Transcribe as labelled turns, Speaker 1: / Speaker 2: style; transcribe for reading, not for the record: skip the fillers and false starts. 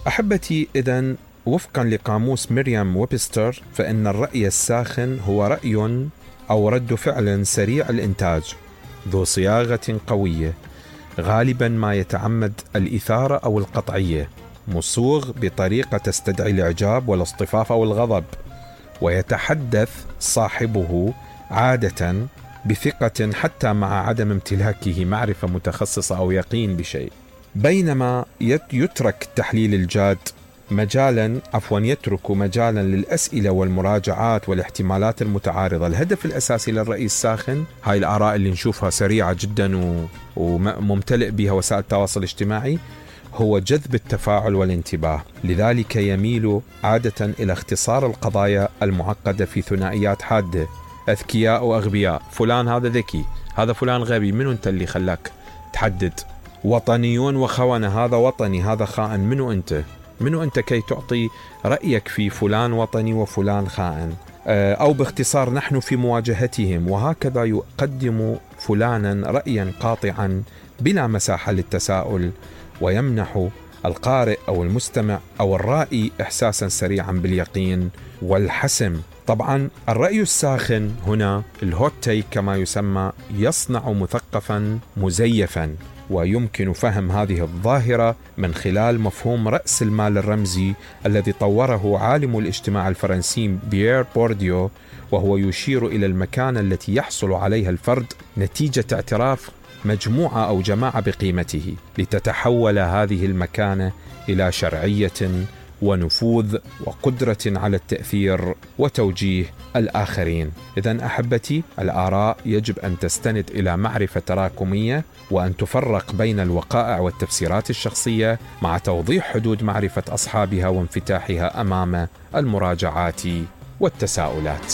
Speaker 1: أحبتي، إذن وفقا لقاموس مريم ويبستر، فإن الرأي الساخن هو رأي أو رد فعل سريع الإنتاج ذو صياغة قوية، غالبا ما يتعمد الإثارة أو القطعية، مصوغ بطريقة تستدعي الإعجاب والاصطفاف أو الغضب، ويتحدث صاحبه عادة بثقة حتى مع عدم امتلاكه معرفة متخصصة أو يقين بشيء. بينما يترك التحليل الجاد يترك مجالا للأسئلة والمراجعات والاحتمالات المتعارضة. الهدف الأساسي للرأي الساخن، هاي الآراء اللي نشوفها سريعة جدا وممتلئ بها وسائل التواصل الاجتماعي، هو جذب التفاعل والانتباه. لذلك يميل عادة إلى اختصار القضايا المعقدة في ثنائيات حادة: أذكياء وأغبياء، فلان هذا ذكي، هذا فلان غبي، منو أنت اللي خلاك تحدد؟ وطنيون وخونة، هذا وطني هذا خائن، منو أنت كي تعطي رأيك في فلان وطني وفلان خائن؟ أو باختصار نحن في مواجهتهم. وهكذا يقدم فلانا رأيا قاطعا بلا مساحة للتساؤل، ويمنح القارئ أو المستمع أو الرائي إحساسا سريعا باليقين والحسم. طبعا الرأي الساخن هنا، الهوت تيك كما يسمى، يصنع مثقفا مزيفا. ويمكن فهم هذه الظاهرة من خلال مفهوم رأس المال الرمزي الذي طوره عالم الاجتماع الفرنسي بيير بورديو، وهو يشير إلى المكانة التي يحصل عليها الفرد نتيجة اعتراف مجموعة أو جماعة بقيمته، لتتحول هذه المكانة إلى شرعية ونفوذ وقدرة على التأثير وتوجيه الآخرين. إذن أحبتي، الآراء يجب أن تستند إلى معرفة تراكمية، وأن تفرق بين الوقائع والتفسيرات الشخصية، مع توضيح حدود معرفة أصحابها وانفتاحها أمام المراجعات والتساؤلات.